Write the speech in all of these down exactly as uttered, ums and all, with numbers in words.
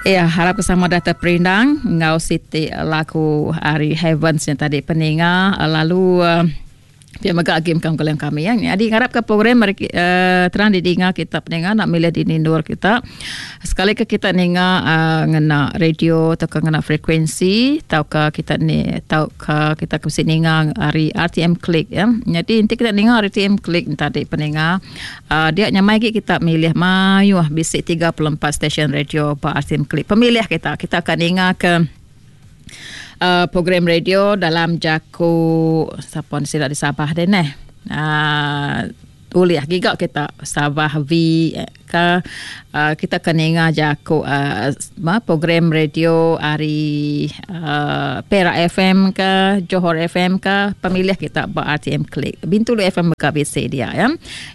Ya, harap ke sama data perindang ngau siti lagu ari Heavens yang tadi peninga lalu uh, pia mega agi mekang kalian kami ya. Jadi harap ke program mari uh, terang didinga kita peninga nak milih di nindur kita. Sekali ke kita ninga uh, ngena radio atau ke ngena frekuensi atau ke kita ni atau ke kita ke ninga ari R T M Click ya. Jadi nanti kita ninga R T M Click tadi peninga uh, dia nyamai lagi kita milih mayuh bisik tiga puluh empat stesen radio ba R T M Click. Pemilih kita kita akan ninga ke Uh, program radio dalam jaku siapa ni sila di Sabah deh neh. Uh, uliah giga kita Sabah V ke uh, kita kena ingat jaku uh, program radio hari uh, Perak F M ke Johor F M ke pemilih kita ba R T M Click. Bintulu F M ke B C dia ya.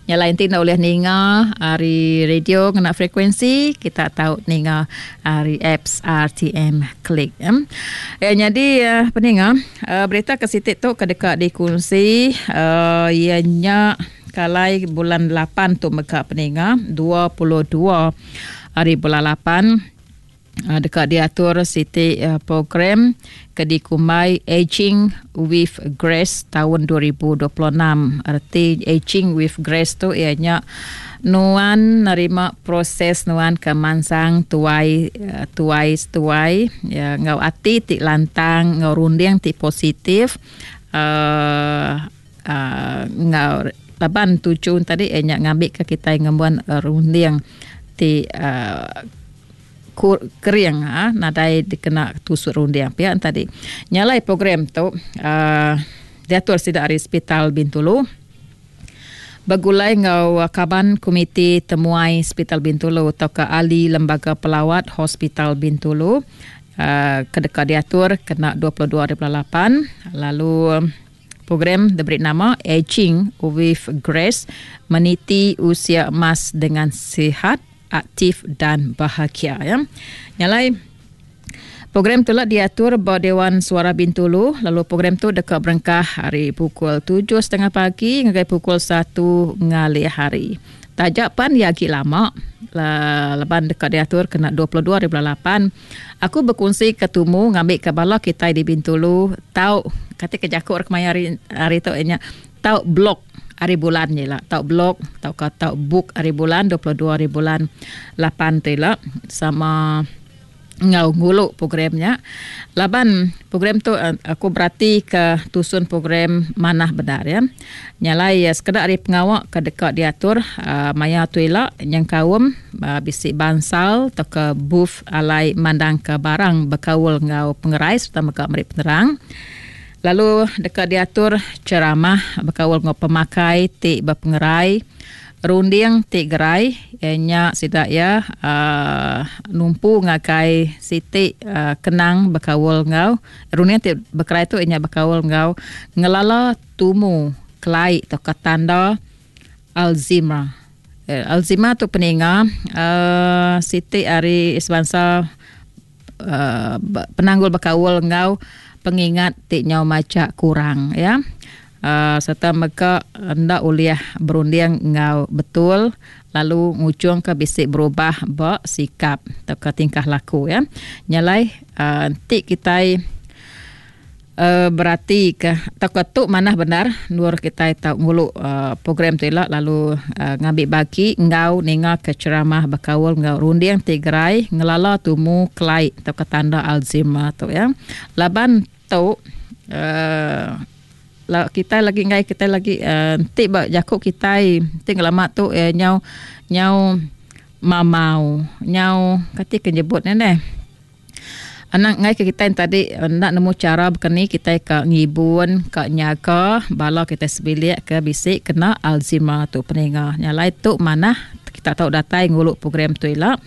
Yang lain ti nak boleh ninga hari radio kena frekuensi kita tahu ninga hari apps R T M Click ya. Ya jadi uh, peninga uh, berita ke sitik tu kedekat dikongsi uh, ianya kalai bulan lapan tu mega peninga dua puluh dua hari bulan lapan dekat diatur siti program Kedikumai Aging with Grace tahun dua ribu dua puluh enam. Erti Aging with Grace tu ianya nuan nerima proses nuan ke mansang tuai tuai tuai ya ngau ati ti lantang ngau runding ti positif uh, uh, ngau laban tujuan tadi eh, nyak ngambil ke kita ngembuan uh, runding ti uh, kur, kering ha, nadai dikena tusuk runding pihak tadi. Nyalai program tu uh, diatur sida ari Hospital Bintulu. Begulai ngau kaban komiti temuai Hospital Bintulu atau ke ahli lembaga pelawat Hospital Bintulu uh, kedeka diatur kena dua puluh dua hari bulan lapan lalu program diberi nama Aging with Grace, meniti usia emas dengan sihat, aktif dan bahagia ya. Nyalai program tu lah diatur ba Dewan Suara Bintulu, lalu program tu dekat berengkah hari pukul tujuh setengah pagi hingga pukul satu ngalih hari. Tajak pan ya agi lama laban dekat diatur kena dua puluh dua hari bulan lapan. Aku berkongsi ketumu ngambil ke bala kita di Bintulu tau kata ke jakuk kemaya hari hari tu nya tau blok hari bulan ni lah tau blok tau ka tau book hari bulan dua puluh dua hari bulan lapan tu lah sama ngau nguluk programnya. Laban program tu aku berarti ke tusun program manah benar ya. Nyalai ya sekedar hari pengawak ke dekat diatur uh, maya tu elak yang kaum uh, bisik bansal atau ke booth alai mandang ke barang berkaul ngau pengerai serta mega meri penerang. Lalu dekat diatur ceramah berkaul ngau pemakai ti berpengerai runding ti gerai ianya sidak ya uh, numpu ngakai siti uh, kenang berkaul ngau runding ti berkerai tu ianya berkaul ngau ngelala tumu kelai atau tanda Alzheimer. Eh, Alzheimer tu peninga uh, siti ari sebangsa uh, penanggul berkaul ngau pengingat ti nyau maca kurang ya. Uh, serta mega ndak uliah berunding ngau betul lalu ngucung ke bisik berubah ba sikap atau ke tingkah laku ya. Nyalai uh, nanti kita uh, berarti ke atau ke tu manah benar nur kita tau nguluk uh, program tu elak lalu uh, ngambil bagi ngau ninga ke ceramah berkaul ngau runding tigerai ngelala tumu kelai atau ke tanda Alzheimer tu ya. Laban tu uh, la kita lagi ngai kita lagi uh, nanti ba jakuk kita nanti lama tu eh, nyau nyau mamau nyau kati ke nyebut ni deh. Anak ngai ke kita yang tadi nak nemu cara bekeni kita ke ngibun ke nyaga bala kita sebilik ke bisik kena Alzheimer tu peninga. Nyalai tu manah kita tahu datai nguluk program tu elak.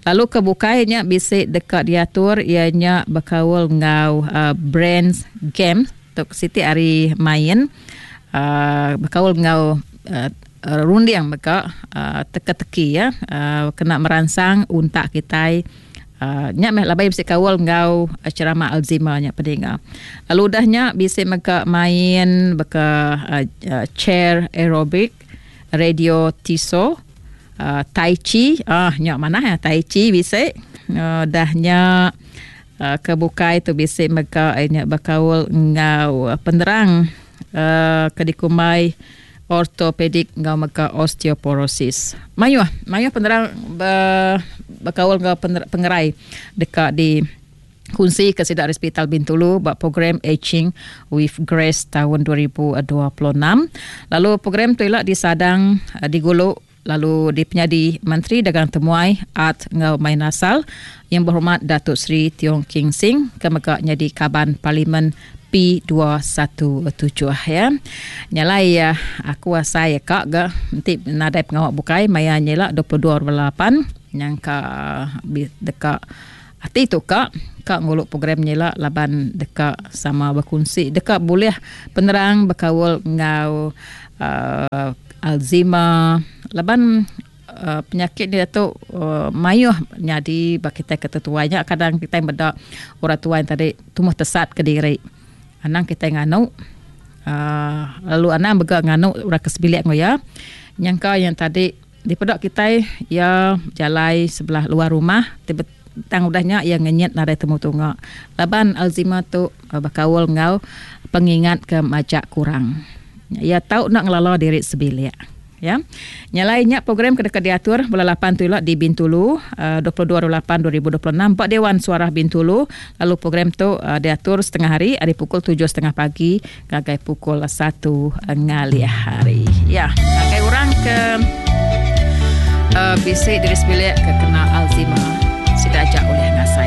Lalu kebukainya bisik dekat diatur ianya berkaul ngau uh, brands game tok siti hari main uh, berkaul ngau uh, runding meka uh, teka-teki ya uh, kena merangsang untak kita uh, nyak meh labai bisik kaul ngau ceramah Alzheimer nya peninga. Lalu udahnya bisik meka main beka uh, uh, chair aerobic, radio tiso, uh, tai chi, ah nyak mana ya tai chi bisik Uh, dahnya uh, kebukai tu bisi mega nya bekaul ngau penerang uh, ke dikumbai ortopedik ngau mega osteoporosis. Mayuh, mayuh penerang be, bekaul ngau pengerai dekat di kunci ke sidak Hospital Bintulu buat program Aging with Grace tahun dua ribu dua puluh enam. Lalu program tu ialah disadang diguluk lalu dipenyadi Menteri Dagang Temuai Art ngau Main Asal yang berhormat Datuk Seri Tiong King Sing ke mega nyadi kaban Parlimen P dua satu tujuh ya. Nyalai ya aku asai ya kak ga nanti nadai pengawak bukai maya nyela dua puluh dua lapan yang ka dekat hati tu kak kak nguluk program nyela laban dekat sama berkongsi dekat boleh penerang berkaul ngau uh, Alzheimer laban uh, penyakit dia tu uh, mayuh nyadi bagi kita ketetuanya kadang kita medak orang tua yang tadi tumbuh tesat ke diri anang kita nganu uh, lalu anang bega nganu orang kesebilik ngoya nyangka yang tadi di pedak kita ya jalai sebelah luar rumah tiba tang udahnya yang ngenyet nadai temu tunga laban Alzheimer tu uh, bakaul ngau pengingat ke majak kurang ya tau nak ngelala diri sebilik ya. Nyalainya program kedekat diatur bulan lapan tu di Bintulu uh, dua puluh dua lapan dua ribu dua puluh enam Pak Dewan Suara Bintulu lalu program tu uh, diatur setengah hari hari pukul tujuh setengah pagi ngagai pukul satu ngalih hari ya. Ngagai orang ke uh, bisik diri sebilik ke kena Alzheimer sida ajak oleh